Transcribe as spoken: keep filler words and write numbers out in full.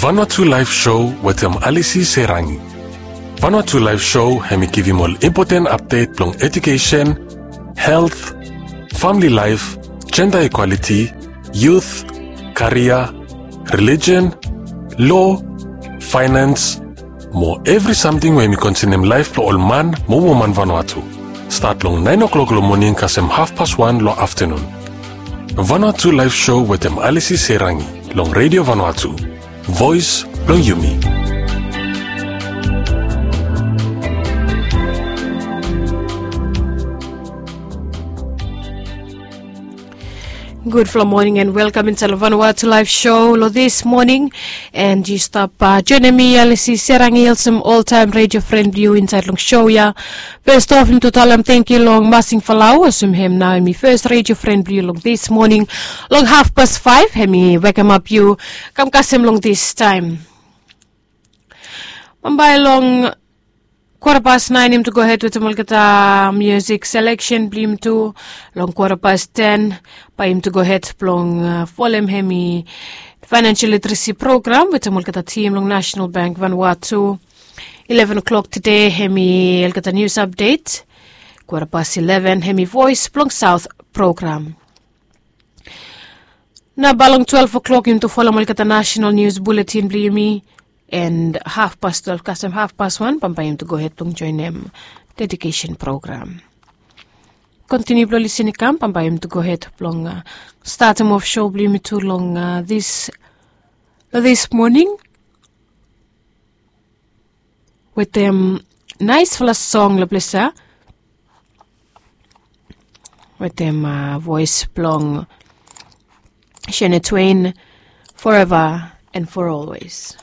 Vanuatu Live Show wetem Alisi Serangi. Vanuatu Live Show hemi givim ol impoten apdet blong edukesen, helt, famili laef, jenda ikwaliti, yut, karia, relijen, lo, faenans, mo evri samting we hemi konsenem laef blong ol man mo woman Vanuatu. Stat long naen oklok long moning kasem hafpas wan long aftenun. Vanuatu Live Show wetem Alisi Serangi long Redio Vanuatu, voes blong yumi. Gudfala moning and welkam insaed long Vanuatu Live Show long this moning. And yu stap joenem mi, Alisi Serangi, olsem oltaem redio fren blong yu insaed long show ya. Fes of, yumi tu talem tangkiu long Masing Falau, olsem hem nao hemi fes redio fren blong yu long this moning. Long hafpas faef hemi wekemap yu kam kasem long this taem. Bambae long kwata pas naen yumi tu gohed wetem olgeta musik seleksen blong yumi tu. Long kwata pas ten bae yumi tu gohed blong folem hemi faenansial literesi program wetem olgeta tim long Nasenal Bank Vanuatu. Ileven oklok tede hemi olgeta nius apdet. Kwata pas ileven hemi Voes blong Saot program. Nao bae long twelef oklok yumi tu folem olgeta nasenal nius buletin blong yumi. And hafpas twelef kasem hafpas wan bambae yumi tu gohed blong joenem dedikesen program. Kontiniu blong lisin i kam bambae yumi tu gohed blong statem of show blong yumi tu long this moning wetem naesfala song long ples ya wetem voes blong Shania Twain, Forever and for Always.